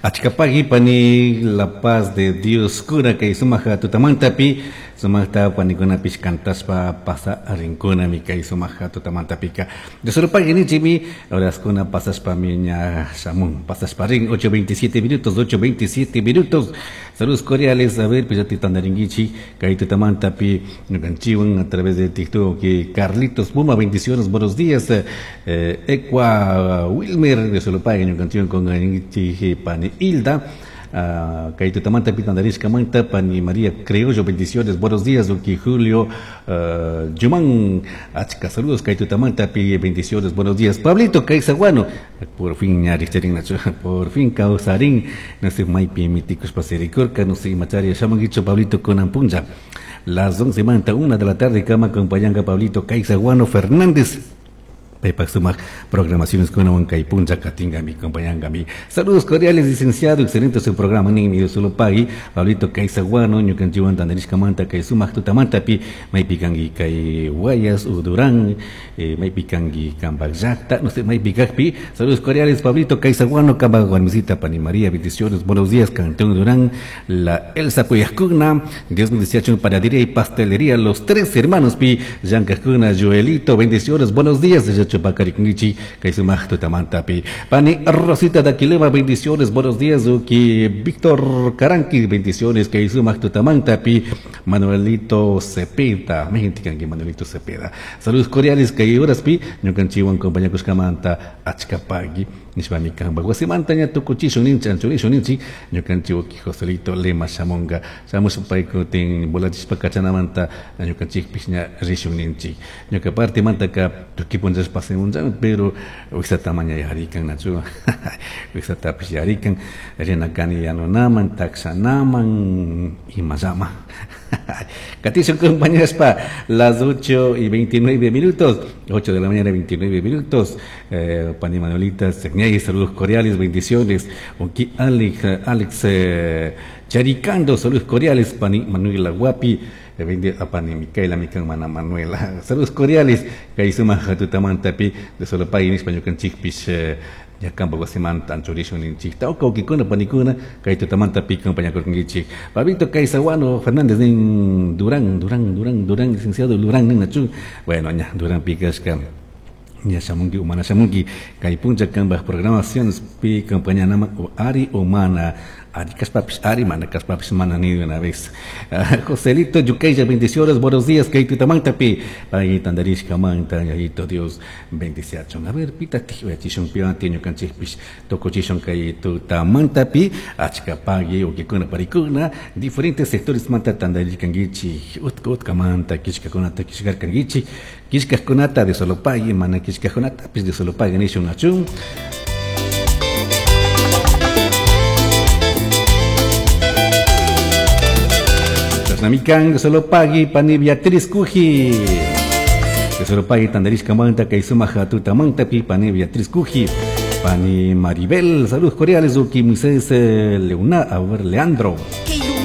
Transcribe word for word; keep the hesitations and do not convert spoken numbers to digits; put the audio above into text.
Achkapagi pani la paz de Dios cura kay sumaja tutamantapi sumajta panikunapish kantaspa pasa rinkunami kay sumaja tutamantapika de solo pagui nichimi horaskuna pasaspa miña shamun pasaspa rin ocho veintisiete minutos ocho veintisiete minutos. Saludos cordiales, a ver pues ya te tandaringuichi kay tutamantapi ñukanchiwan a través de TikTok que Carlitos Puma, bendiciones, buenos días. eh, Ecua Wilmer de solo pagui ñukanchiwan con ringuichi pani Hilda. Uh, Kaito Tamanta Pitandarishka Manta Pani María Criollo, bendiciones, buenos días, Uki Julio uh, Yumán, Achka, saludos, Kaito Tamanta Pi, bendiciones, buenos días, Pablito Kaisaguano, por fin ñaristerin, por fin causarín, no sé, Maipi, Miticos Pasericorca, no sé, Macharia, Shamanguicho, Pablito Conampunja, las once manta, una de la tarde, cama, acompañanga Pablito Kaisaguano Fernández. Paypak sumaq programaciones con Huancay Puncha Katingami, acompañangami. Saludos cordiales, licenciado, excelente su programa, ni solo pagui, Pablito Kaisaguano, ñukanchiwan tandarishkamanta, kay sumaq tutamantapi, maypikangi kay Guayas, Udurán, eh, maypikangi Kambak llaqta, no sé, maypikakpi. Saludos cordiales, Pablito Kaisaguano, Kambak Guarmisita, Pani María, bendiciones, buenos días, Cantón Durán, la Elsa Puyascuna, Dios bendice panadería y pastelería, los tres hermanos pi, Yancascuna, Joelito, bendiciones, buenos días, Chupacarikungichi, kay sumaq tutamantapi. Pani Rosita Daquilema, bendiciones, buenos días, Uki Víctor Caranqui, bendiciones, kay sumaq tutamantapi. Manuelito Cepeda, Mejintikanki Manuelito Cepeda. Saludos cordiales, kay horaspi, ñukanchiwan compañakushkamanta, achkapagui, nishpami kanpa wasimanta ña tukuchishun ninchi, anchurishun ninchi, ñukanchik uki Joselito Lema shamunga, shamushpa paykutin volachishpa kachanamanta, ñukanchikpish ña rishun ninchi. Ñuka partimantaka tukuy punllashpa pero wixata maña yarikan nachu wixatapish yarikan rinakani yanunaman taksanaman imayama. Katishun compañeras las ocho y veintinueve minutos, ocho de la mañana veintinueve minutos. Eh, Pani Manuelita Segñay, saludos cordiales, bendiciones. Oki Alex, Alex eh, Charicando, saludos cordiales. Pani Manuela Guapi, a Pani Micaela, mi hermana Manuela, saludos cordiales. Kaisuma Hatutamantapi, de solo pay en español con chispis. Ya campo wasimanta anchurishun ninchik tawka ukikuna panikuna kay tutamanta pi compañakurkankichik Pablito Kaisaguano Fernández nin Durán, Durán, Durán, Durán, licenciado Durán nin nachu, bueno ña Durán pikashka ña shamunki umana shamunki kay puncha kanpaj programaciones pi compañanama o ari umana ari kaspapis ari mana kaspapis mana ni de una vez. Uh, Joselito Yukeya, bendiciones, buenos días, kay tutamantapi pay tandarishka manta yayito Dios bendiciachon. A ver pita tiyachishun pianti ñukanchikpish tukuchishun kay tutamantapi achkapagui ukikuna parikuna diferentes sectores manta tandarishkankichik utka utkamanta kishkakunata kishkarkankichik kishkakunata de solo pagui mana kishkakunatapis de solo pagui nishun achun. Namikan, solo pagui, pani Beatriz Cuji. De solo pagui, tandarishka manta, kay sumaja tutamanta, pi, pani Beatriz Cuji. Pani Maribel, saludos cordiales, uki Moisés Leuna, a ver, Leandro.